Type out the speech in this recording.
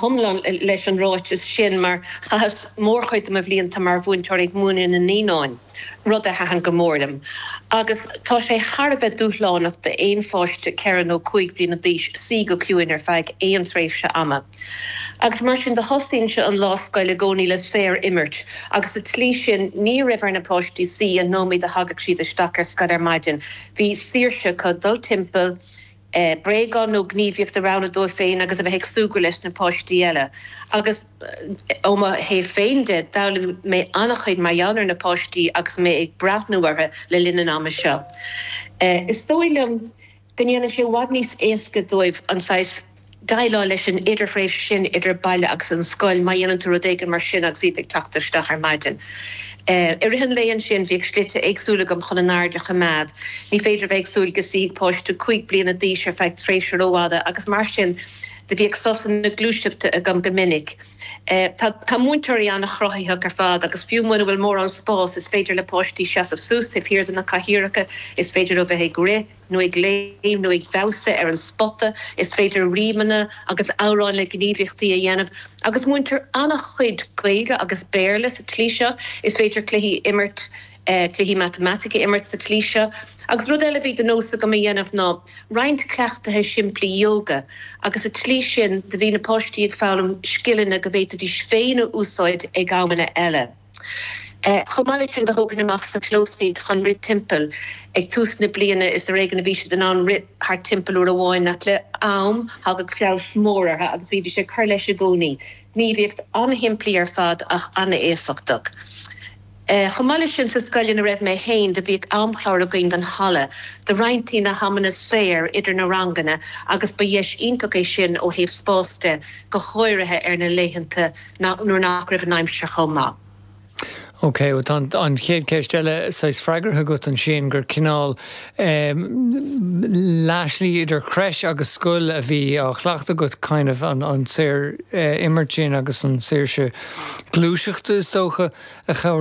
Hiomlán leis an ráiteas sin mar chaitheas mórchuid de mo bhlianta mar mhúinteoir ag múineadh na naíonáin, rud a thaitin go mór liom. Agus tá sé thar a bheith dúshlánach d'aon pháiste 4 nó 5 bliana d'aois suí go ciúin ar feadh aon tréimhse ama. Agus mar sin do thosaínnse an lá scoile i gcónaí le saor-imirt agus sa tslí sin ní raibh ar na páistí suí an nóiméad a thagadh siad isteach ar scoil ar maidin, bhí saoirse acu dul timpeall, bréagán nó gníomhaíocht a roghnú dóibh féin agus a bheith ag súgradh leis na páistí eile. Agus ó mo thaobh féin de, d'fhoghlaim mé an-chuid mar gheall ar na páistí agus mé ag breathnú orthu le linn an ama seo. Is dóigh liom go ndéanann sé i bhfad níos éasca dóibh an saghas déileáil leis an idirthréimhse sin idir baile agus an scoil má dhéanann tú rud éigin mar sin agus iad ag teacht isteach ar maidin. I rith an lae ansin bhíodh slite éagsúla agam chun a n-aird a choimeád. Ní féidir a bheith ag súil go suífidh páiste 5 bliana d'aois ar feadh tréimhse rófhada agus mar sin de bhíodh sosanna gluaiseachta agam go minic. Tá múinteoirí an-chruthaitheach ar fad agus fiú muna bhfuil mórán spáis is féidir le páistí seasamh suas taobh thiar de na cathaoireacha, is féidir leo bheith ag rith, nó ag léim nó ag damhsa ar an spota, is féidir rímeanna agus amhráin le gníomhaíochtaí a dhéanamh agus múintear an-chuid Gaeilge agus Béarla sa tslí seo. Is féidir cluichí a imirt, cluichí matamaitice a imirt sa tslí seo. Agus rud eile a bhí de nós agam a dhéanamh ná roinnt cleachtaithe simplí yoga agus sa tslí sin do bhí na páistí ag foghlaim scileanna go bhféadfaidís féin a úsáid ag amanna eile. Chomh maith leis sin, do thógainn amach sa chlós iad chun rith timpeall. Ag tús na bliana, is ar éigean a bhí siad in ann rith thart timpeall uair amháin, ach le am, thagadh feabhas mór orthu agus bhídís ag cur leis i gcónaí. Gníomhaíocht an-shimplí ar fad ach an-éifeachtach. Chomh maith leis sin, sa scoil ina raibh mé féin, do bhíodh amchlár againn don halla. Do roinntí na hamanna saor idir na ranganna agus ba dheis iontach é sin ó thaobh spáis de, go háirithe ar na laethanta nuair nach raibh an aimsir chomh maith. Ok, bhuel tá an chéad cheist eile saghas freagartha agat ansin, gur cineál leathshlí idir creche agus scoil a bhí á chleachtadh agat, kind of an saor imirt sin agus an saoirse gluaiseachta is dócha a chabhraíonn.